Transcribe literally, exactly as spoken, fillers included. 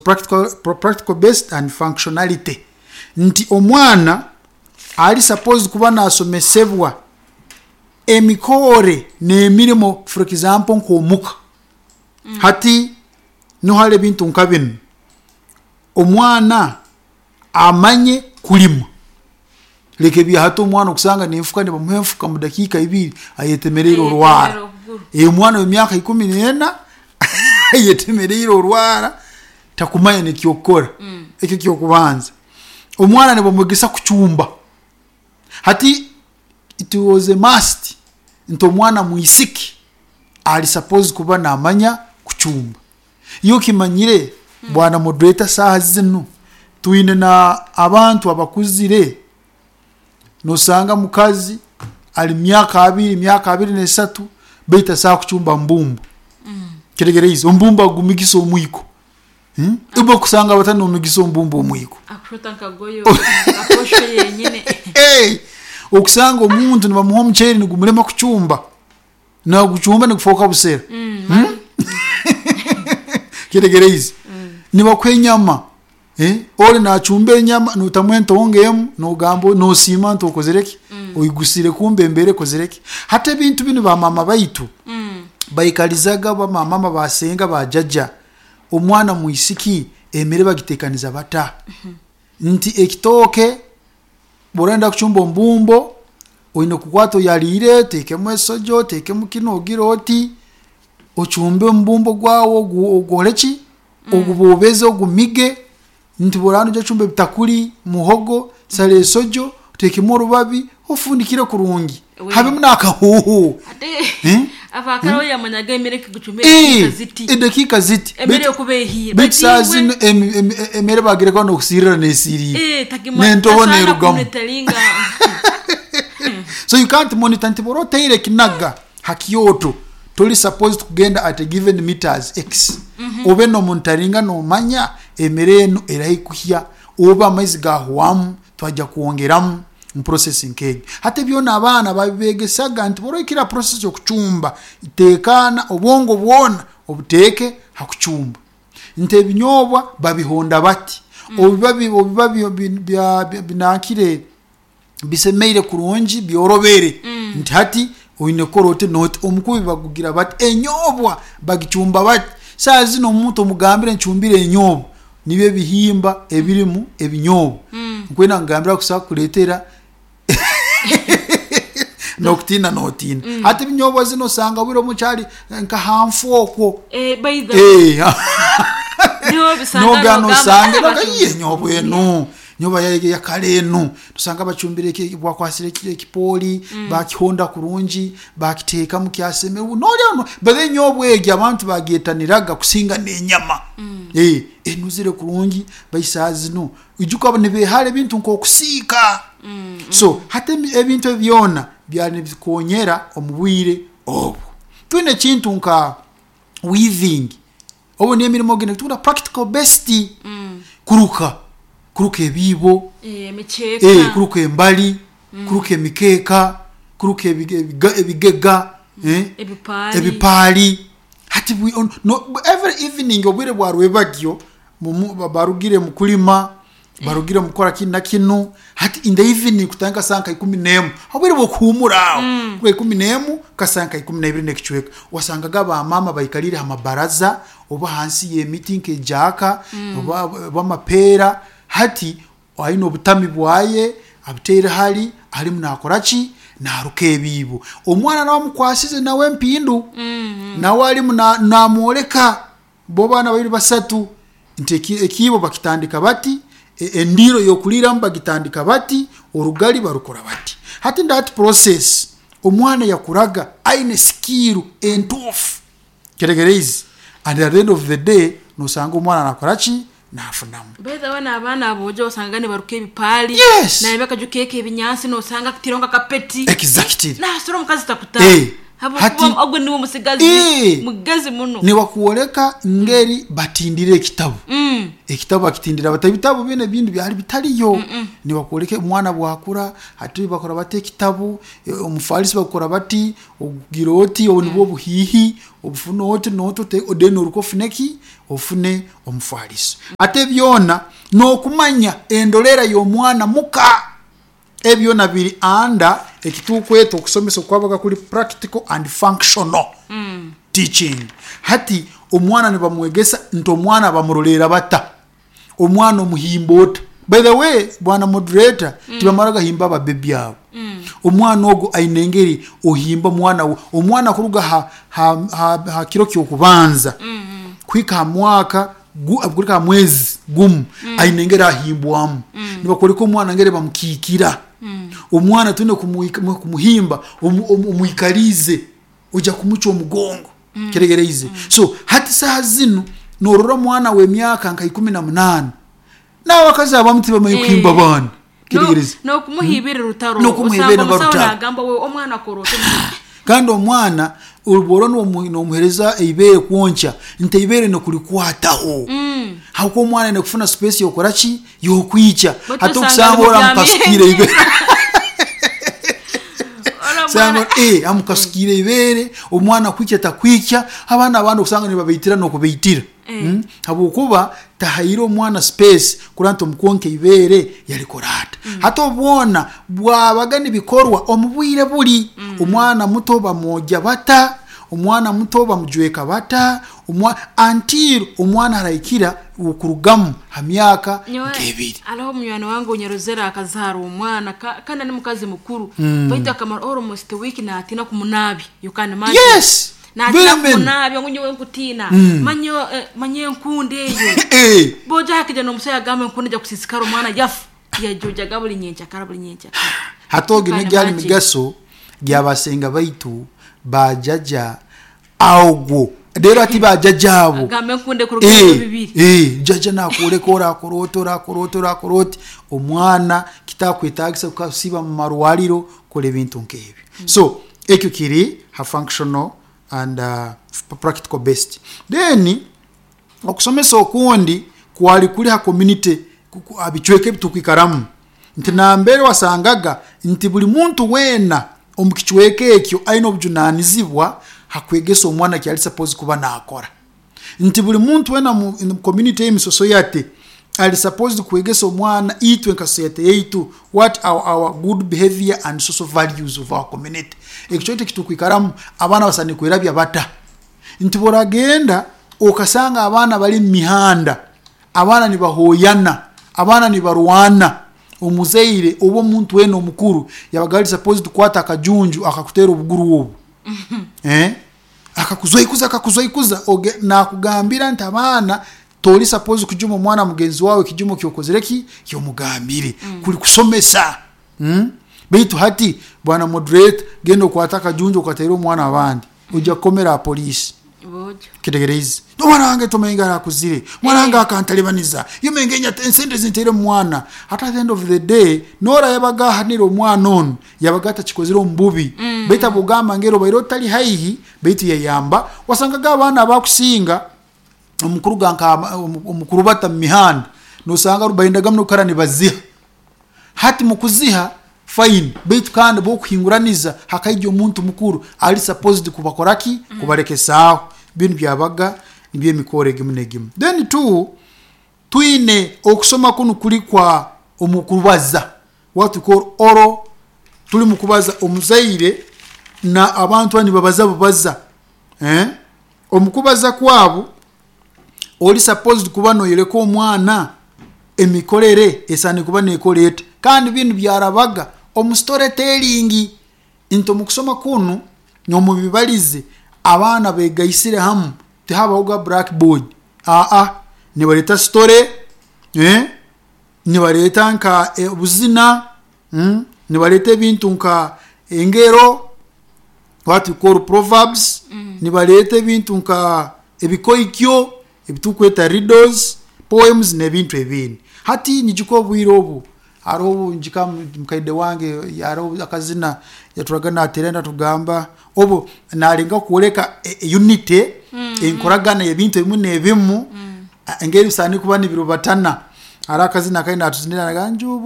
practical, practical based and functionality, nti omwana ali supposed kuba nasomesebwa emikore n'emirimo, for example nk'omuka. Hati niho hari ebintu nka binu, omwana amanye kulima. Leka ebyahati, omwana okusanga nenfuka, nibamuha enfuka, mu dakiika ibiri ayetemereire orwara. Eh, omwana w'emyaka ikumi n'ena ayetemereire orwara, takumanya nekyokukora. Ekyo kyokubanza. Omwana nibamwegesa kucumba. Hati it was a must nti omwana mwisiki ali supposed kuba namanya kucumba. Iyo kimanyire, bwana moderator, saaha zinu twine na abantu abakuzire, nosanga mukazi ali myaka abiri, myaka abiri nesatu, baitu asobola kucumba mbumbu. Kitegereize ombumbu agumigisa omwiko, hmm? Ibo kusanga batani omigisa ombumbu omwiko. Akushota nkagoyo aposho yenyine. Hey, okusanga omuntu nibamuha omuceeri nigumulema kucumba, nagucumba nigufoka busera. Hmm? Kitegereize nibakuha enyama, eh? Ori nacumba enyama, notamu entonge emu, nogamba nosiima nti okozere ki, oyigusire, kumbe embere ekozere ki. Hati ebintu binu bamama baitu baikalizaga, bamamama, basenga, bajaja, omwana mwisiki emere bagitekaniza bata, nti ekitooke bworenda kucumba ombumbo, oine kukwata oyarire, otekemu esojo, otekemu kinu, ogire oti ocumbe ombumbo gwawe, ogu- ogukore ki, ogubobeze, ogumige, nti boraba noija kucumba ebitakuri, muhogo, sara esojo, otekemu orubabi, ofundikire kurungi. We. Habemu n'akahuuhu. Ate Eh? abakara yamanyaga emere kigucumba Eh, edakika ziti. Edakiika ziti. Emere Baitu- yokuba ehiire. Baitu saa zino emi- emi- emere bagireko nokusirira nesirire, nentobo nerugamu. So you can't monitor nti bwora oteire ekinaga hakyoto, toli supposed kugenda at a given meters x, obe nomonitoringa, nomanya emere enu eraikuhya oba amaizi gahwamu, twajja kwongeramu mu process nk'egyo. Hati byona abaana babibegesaga nti bwora oikira process yokucumba, tekana obwongo bwona obuteeke hakucumba, nti ebinyobwa babihonda bati, obiba bi- obiba bi- bi- bya- bya- binankire bisemeire kurungi, byorobere, nti hati oine kukora oti noti, omukubi bagugira bati, enyobwa bagicumba bati. Saa zino omuntu omugambire ncumbire enyobwa, nibyo ebihimba ebirimu ebinyobwa, nkwenda ngambira kusobola kukuletera nokutina notina. Hati ebinyobwa zino osanga bwire omukyali nka hanfu okwo. Eh, Noga nosange noga nyobwa enu, nyoba yakale enu, tusanga bacumbire, bakwasire ekipooli, bakihonda kurungi, bakiteekamu kyaseme, nolya. But enyobwa egi abantu bagyetaniraga kusinga n'enyama. Eh, enuzire kurungi. Baisaa zino ijuka nibehara ebintu nk'okusiika. So hati ebintu ebyona byali nibikonyera omu bwire obwo. Twine ekintu nka weaving, obu n'emirimo gino tuna practical best, kuruka kuruka ebiibo, eh, kuruka embali, kuruka emikeeka, kuruka ebigega, eh, ebipaali. Hati no, every evening obwire bwa rwebagyo barugire mu kulima, barugire mukora kinu na kinu, hati in the evening kutandika saa nka ikumi n'emu, obwire bwokuhumura aho, mm. ikumi n'emu kasaa nka ikumi n'ebiri n'ekicweka, wasangaga bamama baikalire ha mabaraza oba hansi y'emiti nk'ejaaka, mm. oba, oba amapeera. Hati aine obutami bwaye abuteire hali, alimu nakora ki, naruka ebiibo. Omwana nawe amukwasize nawe empindu, mm -hmm. nawe alimu namwoleka bo baana babiri basatu nti ekiibo bakitandika bati, endiro yokuliramu bagitandika bati, orugali barukora bati. Hati that process omwana yakuraga aine skill entuufu, kitegereize? And at the end of the day nosanga omwana nakora ki, nafunamu. By the way, n'abaana abojo osanga nibaruka ebipaali. Yes. Naye bakajukeka ebinyansi, nosanga kutironga kapeti. Exactly nasura omukazi takuta. Eh. Hati- Habwokuba ogwo niwe musigazi Eh. mugezi muno. Nibakuoleka ngeri batindire ekitabu. Mm. Ekitabu bakitindira bata, ebitabu bine ebindi byali bitaliyo. Nibakuoleka omwana bwakura hati bakora bati ekitabu, eh, omufalisi bakora bati, ogira oti obu nibwo obuhihi obufune oti noti ote- then oruka ofune ki, ofune omufalisi. Ate byona nokumanya endolera y'omwana muka, ebyona biri anda ekitukweta okusomesa okwabaga kuri practical and functional Mm. teaching. Hati omwana nibamwegesa nti omwana bamurolera bata, omwana omuhimba ota. By the way, bwana moderator, mm. tibamara gahimba ababebi abo. mm. Omwana ogwo aine engeri ohimba omwana we, omwana kuruga ha, ha, ha, ha kiro kyokubanza Mm. kuhika ha mwaka gu- kuhika ha mwezi gumu, mm. aine engeri ahimbwamu. mm. Nibakoreka omwana ngeri bamukikira. mm. Omwana twine kumuhika- kumuhimba omu- omu- omwikarize, ojja kumucwa omugongo. mm. Kiregereize. mm. So hati saha zinu norora omwana w'emyaka nka ikumi na munaana n'abakazi abamu tibamanyi kuhimba Eh. abaana. Kiregereze. Nokumuhibira rutaro. N'okumuhibira Osanga omusawo rutaro. nagamba we omwana akora oti. Kandi omwana obwora nomuhereza eibere kwonkya, nti eibere nokulikwataho. Mm. Hakuba omwana aine kufuna space yokora ki, yokwikya. Batu Hati osanga okusanga ora mubyamire. amukasukire eibere. Ora Sanga omwana- eh amukasukire eibere, omwana kwikya takwikya. Abaana abandi okusanga nibabeitira nokubeitira. Eh. Mm? Habwokuba tahaire omwana space kurora nti omukwonka eibere yalikora ata. Hati obwona bwabaga nibikorwa omu bwire buri, omwana muto bamwogya bata, omwana muto bamujweka bata, omwa- until omwana arahikira okurugamu ha myaka Nyowe, nk'ebiri. Hariho munywani wange onyarozere akazaara omwana ka- kandi ni mukazi mukuru, baitu akamara almost week natina kumunabi. You can imagine. Yes, Natina very many. kumunabi ngu nyowe nkutina, manye eh, manye enkundi eyo. Eh, Boja hakija nomusaya agamba enkundi ejja kusisikara omwana yafu yajojaga buli nyenkyakara buli nyenkyakara. Hati ogi You can negyali imagine. migaso gyabasenga baitu bajaja ogwo rero ati bajaja abo. Agamba enkundi ekuruga ebiro Eh, bibiri. eh, jaja nakwoleka orakora oti, orakora oti, orakora oti, omwana kitakwetagisa kukasiba mu marwariro kukora ebintu nk'ebyo. So ekyo kiri ha functional and uh, practical based. Then okusomesa okundi kwali kuri ha community, ku- ku- abicweka ebitukwikaramu, nti nambere wasangaga nti buli muntu weena omu kicweka ekyo aine obujunanizibwa hakwegesa omwana kyali suppose kuba nakora, nti buli muntu weena mu in community y'emisoso yate ali supposed kwegesa omwana itwe nka society yaitu what are our good behavior and social values of our community. Ekyo kyaitu ekitukwikaramu abaana basani kwerabya bata, nti boragenda okasanga abaana bali mu mihanda, abaana nibahoyana, abaana nibarwana, omuzaire oba omuntu weena omukuru yabaga ali supposed kukwata akajunju akakutera obuguru obu, eh? Akakuzoikuza, akakuzoikuza. Oge- nakugambira nti abaana tori supposed kujuma omwana mugenzi wawe ekijumo kyokozere ki kyomugambire. Kuri kusomesa. Mm? Baitu hati bwana moderate, genda okwata akajunju okateera omwana abandi, ojja kukomera apoliisi. Bojo. Kitegereize, omwana wange tomenga arakuzire, omwana wange akantalibaniza yomengenya ensente zinteire mu mwana. Ate at the end of the day nora yabaga ahanire omwana onu yabaga atakikozire omu bubi. mm. Baitu abugamba ngero obaire otali haihi baitu yayamba, wasangaga abaana abakusinga omukuru ganka omukuru bata mu mihanda nosanga bayendaga muno kukara nibaziha. Hati mukuziha fine, baitu kandi bokuhinguraniza hakaija omuntu mukuru ali supposed kubakoraki, kubarekesaaho. Binu byabaga nibyo emikoro egimu negimu. Then two, twine okusoma kunu kuri kwa omukubaza, what we call oral. Tuli mukubaza omuzaire na abantu bani babaza bubaza, eh? Omukubaza kwabo oli supposed kuba noyereka omwana emikorere esani kuba nekora ete, kandi binu byarabaga omu storytelling, nti omukusoma kunu nomubibalize abaana begaisire hamu, tihabaho ga blackboard, aa nibareta story, eh? Nibareta nka eh, obuzina, mm? Nibareta ebintu nka engero, what we call proverbs. mm. Nibareta ebintu nka ebikoikyo ebitukweta riddles, poems n'ebintu ebindi. Hati nijuka obwire obu Hariho obunjika mukaide wange hariho akazina yaturaga nateera natugamba obu narenga kworeka e- e- unity, enkoragana y'ebintu ebimwe n'ebimu, engeri bisaani kuba nibirubatana. Hariho akazina akari natuzinira njubu.